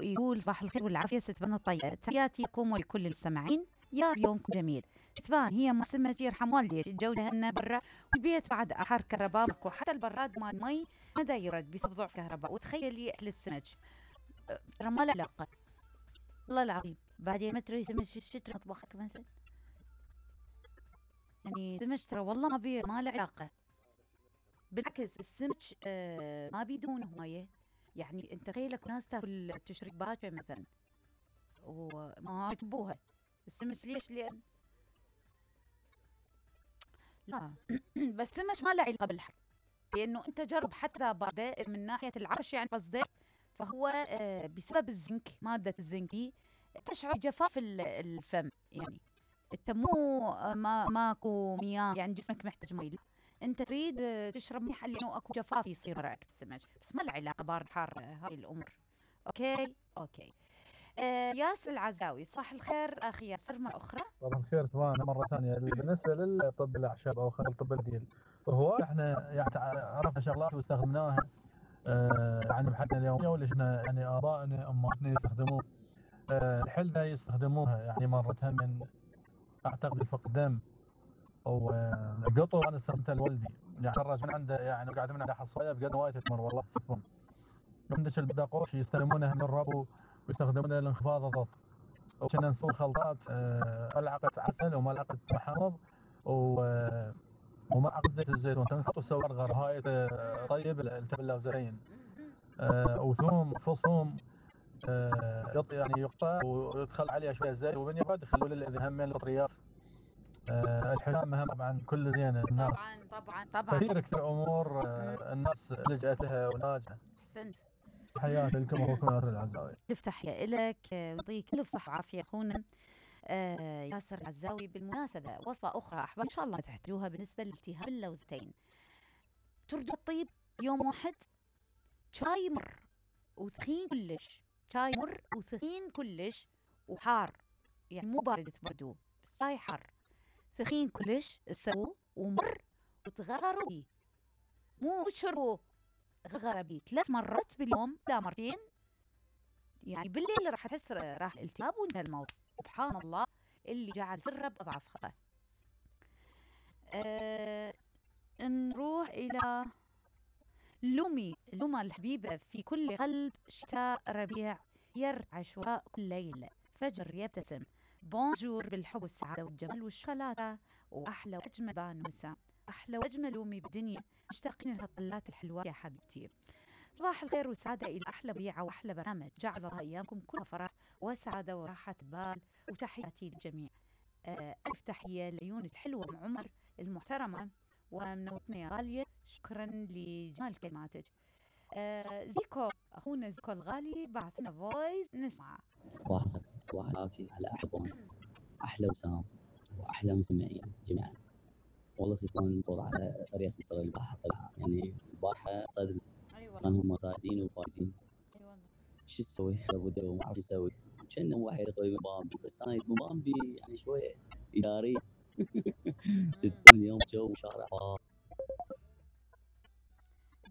يقول صباح الخير والعافية ست بن الطيب، تحياتي لكم ولكل المستمعين، يا يومكم جميل. تبان هي سمك يرحم والديك الجو لهنا برا والبيت بعد أحر كهرباء ماكو، حتى البراد مال مي ما دا يرد بسبب ضعف كهرباء. وتخيلي أكل السمك ترى ما له علاقة، والله العظيم. بعدين ما تريد سمك شو مطبخك مثلا، يعني سمك ترى والله ما له علاقة. بالعكس السمك ما بيدون هواية. يعني انت تخيلك ناس تاكل تشرب باكر مثلا وما يحبوها السمك. ليش؟ لان لا بس السمك ما له علاقه بالحر، لانه انت جرب حتى بعده من ناحيه العرش يعني قصدك، فهو بسبب الزنك، ماده الزنك دي تشعر بجفاف الفم. يعني انت مو ماكو مياه، يعني جسمك محتاج مي، انت تريد تشرب مياه لانه اكو جفاف يصير راك السمك، بس ما له علاقه بارد حار هاي الامور. اوكي. ياسر العزاوي، صباح الخير اخي ياسر مرة اخرى. طبعا الخير سوانا مرة ثانية. بالنسبة للطب الأعشاب أو خلينا الطب البديل، هو احنا يعني عرفنا شغلات واستخدمناها يعني بحياتنا اليومية، واللي احنا يعني آبائنا أمهاتنا يستخدموه. الحلة يستخدموها يعني مرتها من أعتقد الفقدان أو قطو. أنا استخدمتها لولدي، يعني خرج من عنده، يعني قاعد من عنده حصاية بقد وايد تمر والله سكون. عندك البداقوش يستخدمونها من الربو ويستخدمونها لانخفاض الضغط. وكنا نسوي خلطات ملعقة عسل وملعقة محمص وملعقة زيت الزيتون، تنخلط وتسوي غرغر هاي طيب التبلة وزين. وثوم فص ثوم يعني يقطع ويدخل عليها شوية زيت، ومن يبرد يخلوا له همين البطريات. الحجامة طبعا كل زينة الناس. طبعا كثير امور الناس لجأت لها وناجحة. احسنت. حياك لكم اخوكم ياسر العزاوي. الف تحية لك ويعطيك الف صحة وعافية اخونا ياسر العزاوي. بالمناسبة وصفة اخرى احباب ان شاء الله تحتاجوها بالنسبة لالتهاب اللوزتين. تردوا الطيب يوم واحد، شاي مر وثخين كلش، شاي مر وثخين كلش وحار، يعني مو بارد تبردوه، بس شاي حار ثخين كلش تسووه ومر وتغرغروا بيه، مو تشربوه، غرغرة بيه 3 مرات باليوم لا مرتين. يعني بالليل راح تحس راح الالتهاب وانتهى الموضوع. سبحان الله اللي جعل سره بأضعف خطأ. نروح إلى لوما الحبيبة، في كل قلب شتاء ربيع يرتعش وراء كل ليلة فجر يبتسم. بونجور بالحب والسعادة والجمال والشوكولاتة وأحلى وأجمل بانوسة، أحلى وأجمل لومي بالدنيا، مشتاقين لها الطلات الحلوة يا حبيبتي. صباح الخير والسعادة إلى أحلى بيعة وأحلى برامج، جعل الله أيامكم كلها فرح وسعادة وراحة بال. وتحياتي للجميع. ألف تحية لعيونك الحلوة أم عمر المحترمة ومنوتنا يا غالية، شكرا لجمال كلماتك. زيكو أخونا زيكو الغالي بعث لنا فويس نسمع. صباح الخير، صباح العافية على أحلى وسام وأحلى مستمعين جميعا. والله سلطان مفروض على فريق مصر البارحة طلع، يعني البارحة صدم. كانوا هم صاعدين وفايزين. شو تسوي؟ لابد ما أعرف يسوي. كأنه واحد قريب من بامبي، بس أنا من بامبي يعني شوية إداري. صدقون اليوم جو شارع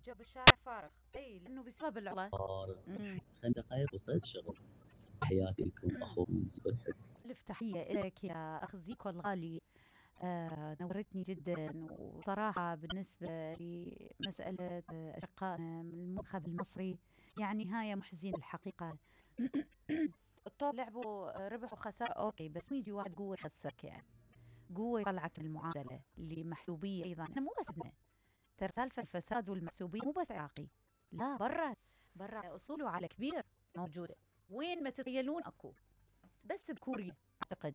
جو بالشارع فارغ، اي لانه بسبب العطلة فارغ. 5 دقائق وصلت شغل. تحياتي لكم اخوكم زيكو الحلو. الف تحية لك يا اخ زيكو الغالي. نورتني جدا. وصراحة بالنسبة لمسألة أشقائنا من المنتخب المصري، يعني هاي محزين الحقيقة. الطول لعبوا ربح وخسارة اوكي، بس يجي واحد قوة يخسرك، يعني قوة يطلعك من المعادلة اللي محسوبية. ايضا احنا مو بس بدنا ترى سالفة الفساد والمحسوبية مو بس عراقي، لا برا اصوله على كبير موجودة، وين ما تتخيلون اكو. بس بكوريا اعتقد